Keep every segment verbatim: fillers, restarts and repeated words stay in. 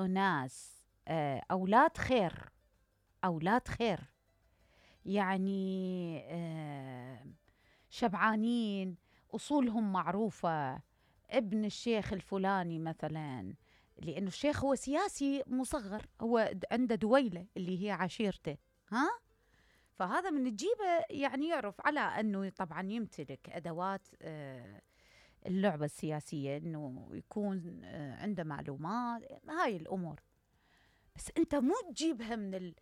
أناس آه أولاد خير، أولاد خير، يعني آه شبعانين، أصولهم معروفة، ابن الشيخ الفلاني مثلا، لأنه الشيخ هو سياسي مصغر، هو عنده دويلة اللي هي عشيرته، ها؟ فهذا من تجيبه يعني يعرف على أنه طبعا يمتلك أدوات آه اللعبة السياسية، أنه يكون آه عنده معلومات، هاي الأمور. بس أنت مو تجيبها من ال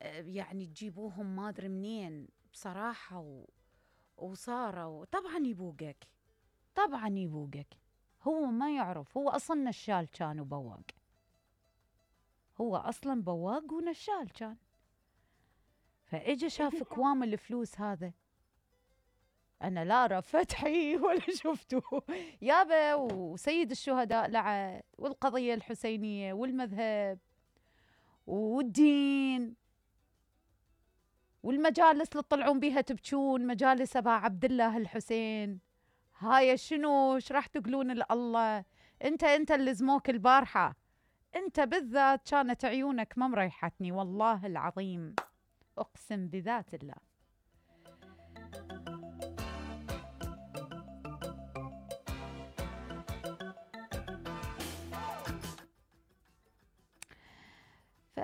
آه يعني تجيبوهم ما أدري منين بصراحة و وصاروا طبعا يبوقك، طبعا يبوقك. هو ما يعرف، هو أصلا نشال كان وبواق، هو أصلا بواق ونشال كان، فإجا شاف كوام الفلوس هذا. أنا لا أرى فتحي ولا شفته يابا، وسيد الشهداء لعد، والقضية الحسينية والمذهب والدين والمجالس اللي تطلعون بيها تبكون، مجالس أبا عبد الله الحسين، هاي شنو؟ ايش راح تقولون لله؟ انت انت اللي زموك البارحة، انت بالذات كانت عيونك ما مريحتني والله العظيم، اقسم بذات الله. ف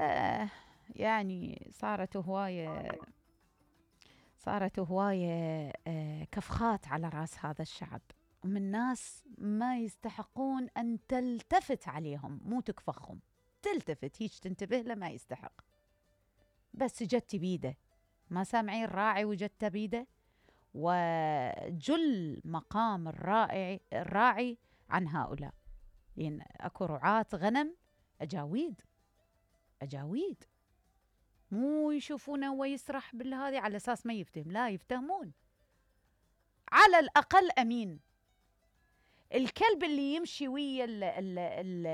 يعني صارت هواية صارت هواية كفخات على راس هذا الشعب، ومن ناس ما يستحقون أن تلتفت عليهم، مو تكفخهم، تلتفت هيش تنتبه له، ما يستحق. بس جت بيده، ما سامعين راعي وجت بيده، وجل مقام الراعي الراعي عن هؤلاء، لأن أكو رعاة غنم أجاويد أجاويد، مو يشوفونه هو يسرح بالهذه على أساس ما يفتهم، لا يفتهمون، على الأقل أمين. الكلب اللي يمشي ويا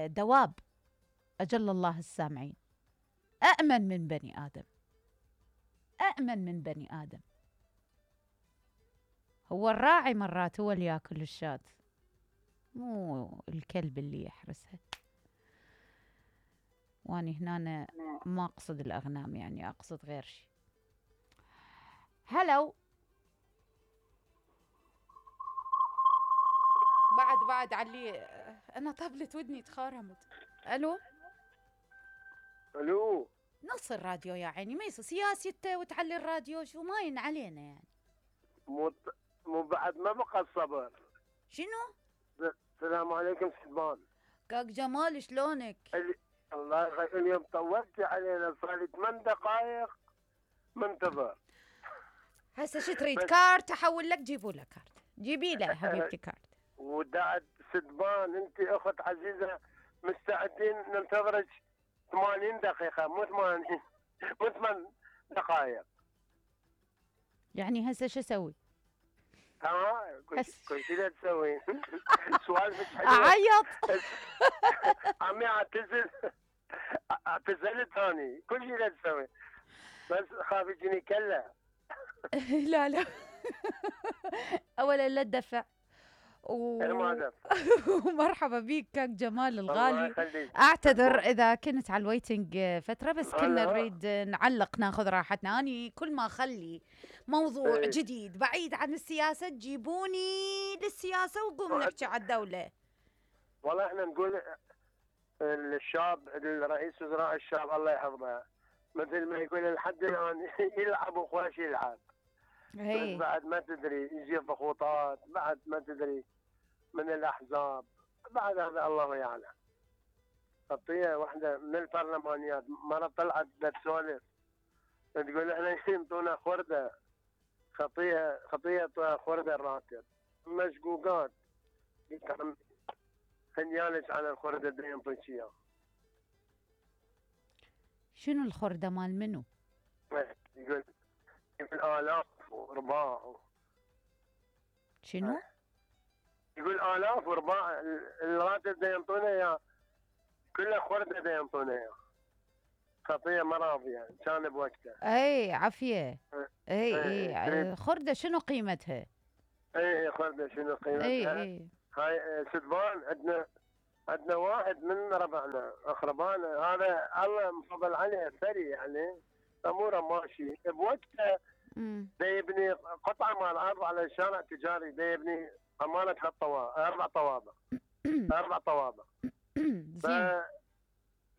الدواب أجل الله السامعين أأمن من بني آدم، أأمن من بني آدم. هو الراعي مرات هو اللي يأكل الشاة، مو الكلب اللي يحرسها. واني هنا ما أقصد الأغنام، يعني أقصد غير شيء. هلو، بعد بعد علي أنا طبلت ودني تخارمت. ألو ألو، نص الراديو يا عيني، ما يصير سياسي وتعلي الراديو، شو ماين علينا يعني؟ مو مو بعد ما بقى الصبر. شنو؟ السلام عليكم سلمان. كاك جمال شلونك؟ الله يخليك، اليوم طولتي علينا، صار لي ثمان دقائق منتظر. هسه شو تريد؟ كارت احول لك؟ جيبوا له كارت، جيبي له حبيبتي كارت. ودعت سدبان، انت اخت عزيزه، مستعدين ننتظرك ثمانين دقيقه، مو ثمانين مو ثمان دقائق. يعني هسه شو اسوي؟ اه كل شيء لا تسوي. سوالفك حلوه. اعيط. عمي اعتزل، اعتزلت هاني، كل شيء لا تسوي، بس خاف يجيني كله. لا لا، اولا لا تدفع و... ومرحبا بيك كاك جمال الغالي. اعتذر اذا كنت على الويتنج فتره، بس كنا نريد نعلق ناخذ راحتنا. اني كل ما اخلي موضوع ايه. جديد بعيد عن السياسه تجيبوني للسياسه وقوم نحكي على الدوله. والله احنا نقول الشاب، الرئيس وزراء الشاب الله يحفظه، مثل ما يقول لحد الان يلعب وخواش يلعب. بس بعد ما تدري يجي ضغوطات، بعد ما تدري من الأحزاب، بعد هذا الله يعلم. خطية واحدة من البرلمانيات مرة طلعت بتسولف تقول احنا ينطونا خردة، خطية خطية خردة الراتب، مشقوقات. خنيالك على الخردة اللي ينطيك اياه. شنو الخردة مال منو؟ يقول بالآلاف ورباع. شنو؟ يقول آلاف ورباع الراتب دا ينطونا اياه، كله خردة دا ينطونا اياه. خطية مراضية يعني كان بوقته. اي عافية. اي اي, أي. خردة شنو قيمتها؟ اي خردة شنو قيمتها؟ اي اي هاي سدبان عندنا عندنا واحد من ربعنا اقربائنا هذا الله مفضل عليه ثري يعني اموره ماشي بوقته. امم دا يبني قطعه مال ارض على شارع تجاري، دا يبني امانه ثلاث طوابق اربع طوابق اربع طوابق. ف زين.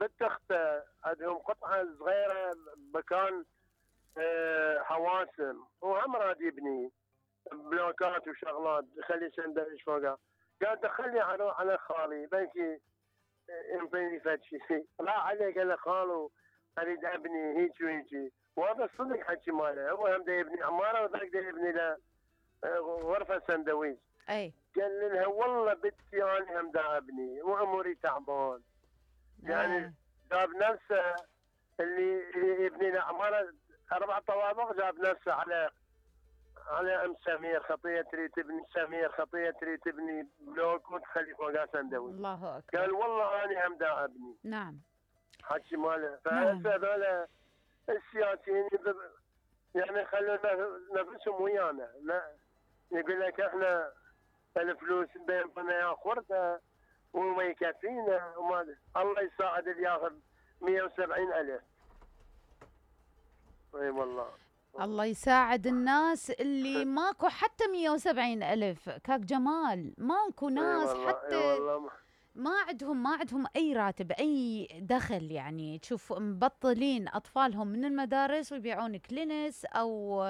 بنت اخته عندهم قطعه صغيره مكان آه، حواسم، وهم راد يبني بلوكات وشغلات يخلي سندويش فوقها. قال دخلني على على خالي بلكي ينطيني فد شيء. راح عليه قال له خالو اريد ابني هيك وهيك، وهذا صدق حكي ماله. هو هم دا يبني عماره وذاك دا يبني له آه، غرفه سندويش. اي قال لها والله بنتي انا هم دا ابني واموري تعبان. يعني جاب نفسه اللي يبني له عماره اربع طوابق، جاب نفسه على على ام سمير خطيه تريد تبني، سمير خطيه تريد تبني بلوك وتخلي فوقها سندويش. الله اكبر. قال والله انا هم دا ابني. نعم. حكي ماله. نعم. فهسه هذول السياسيين يعني خلوا نفسهم ويانا. لا يقول لك احنا الفلوس بيننا ياخذها وما يكفينا وما الله يساعد اللي ياخذ مئة وسبعين ألف. اي والله الله يساعد الناس اللي ماكو حتى مئة وسبعين ألف. كاك جمال ماكو ناس أي والله. حتى أي والله. ما عندهم ما عندهم أي راتب أي دخل. يعني تشوف مبطلين أطفالهم من المدارس ويبيعون كلينس أو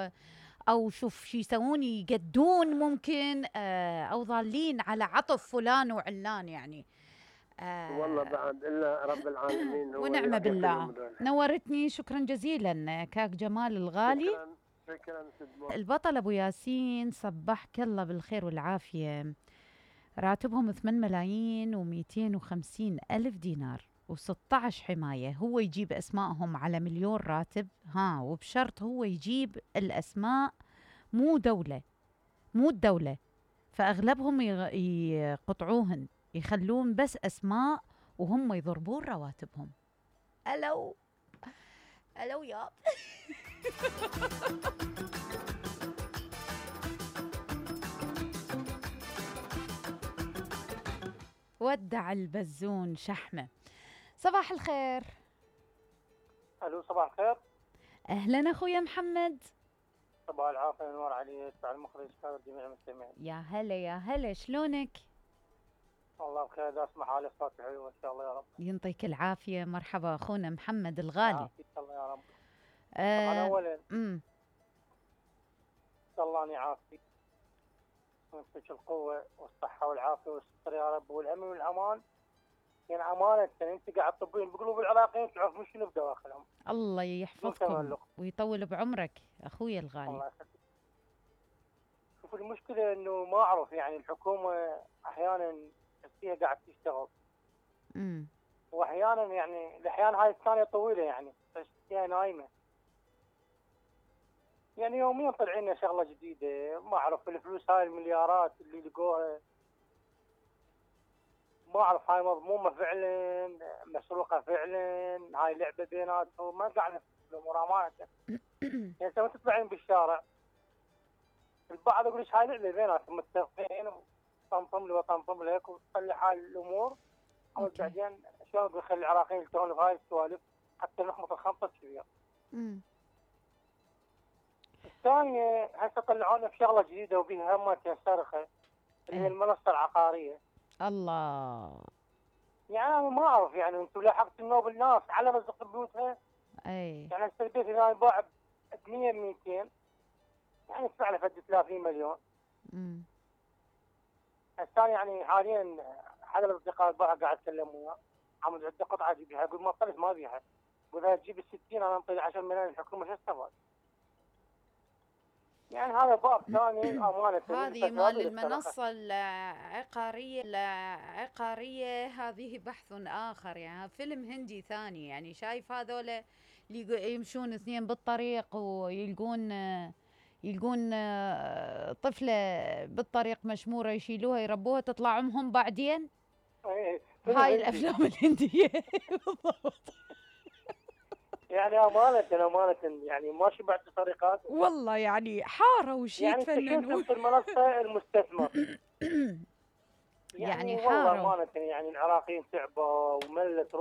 أو شوف شو يسوون يقدون ممكن آه، أو ضالين على عطف فلان وعلان يعني. آه والله بعد إلا رب العالمين هو ونعم بالله. نورتني. شكرا جزيلا كاك جمال الغالي. شكرا شكرا سدمو. البطل أبو ياسين صبحك الله بالخير والعافية. راتبهم ثمانية ملايين ومئتين وخمسين ألف دينار وستة عشر حماية. هو يجيب أسمائهم على مليون راتب، ها، وبشرط هو يجيب الأسماء مو دولة مو الدولة. فأغلبهم يقطعوهن يخلون بس أسماء وهم يضربون رواتبهم. ألو ألو يا ودع البزون شحمة. صباح الخير. الو صباح الخير. أهلا أخويا محمد. صباح العافية نور عليك وعلى المخرج كان جميع المستمعين. يا هلا يا هلا، شلونك؟ والله بخير. دا اسمع حالي صوتي حلو ان شاء الله يا رب. ينطيك العافية. مرحبا أخونا محمد الغالي. ان شاء الله يا رب. آه طبعا اولا امم ان شاء الله اني عافيك ويعطيك القوة والصحة والعافية والستر يا رب والأمن والأمان. يعني أمانة انت قاعد تطبين بقلوب العراقيين تعرف مش شنو بدواخلهم. الله يحفظكم ويطول بعمرك أخويا الغالي. الله يخليك. شوف المشكلة إنه ما أعرف يعني الحكومة أحيانا فيها قاعد تشتغل. امم وأحيانا يعني الأحيان هاي الثانية طويلة يعني بس هي نايمة. يعني يوميا طلع لنا شغله جديده. ما اعرف الفلوس هاي المليارات اللي لقوها ما اعرف هاي مضمومه فعلا مسروقه فعلا. هاي لعبه بيناتهم ما قاعد الامور امانه. يعني انت تطلعين بالشارع البعض يقول لك هاي لعبه بيناتهم متفقين وطنطم لي وطنطم لك وتخلي حال الامور. بعدين شلون بيخلي العراقيين يلتهون بهاي السوالف حتى نحمط الخمطه كبيره. امم الثانية هسه طلعوا لنا بشغلة جديدة وبيها همة صرخة اللي هي المنصة العقارية. الله. يعني أنا ما أعرف يعني أنتم لاحقتوا النوب الناس على رزق بيوتها. أي يعني هسه البيت إذا يباع ب مئة مئتين يعني يدفع له فد ثلاثين مليون. امم الثاني يعني حاليا حدا الأصدقاء البارحة قاعد أتكلم وياه عم عنده قطعة أجيبها يقول ما طلعت ما أبيها. وإذا تجيب الستين أنا أنطي عشرة ملايين الحكومة شو استفاد؟ يعني هذا باب ثاني أمانة. هذه مال المنصة العقارية العقارية هذه بحث آخر. يعني فيلم هندي ثاني. يعني شايف هذول اللي يمشون اثنين بالطريق ويلقون يلقون طفلة بالطريق مشمورة يشيلوها يربوها تطلع أمهم بعدين. هاي الأفلام الهندية بالضبط. يعني أمانة أمانة يعني ما شبعت طريقات. والله يعني حارة وشي يعني تفننون. يعني في المنصة المستثمر يعني والله حاروا. امانه يعني العراقيين تعبوا وملت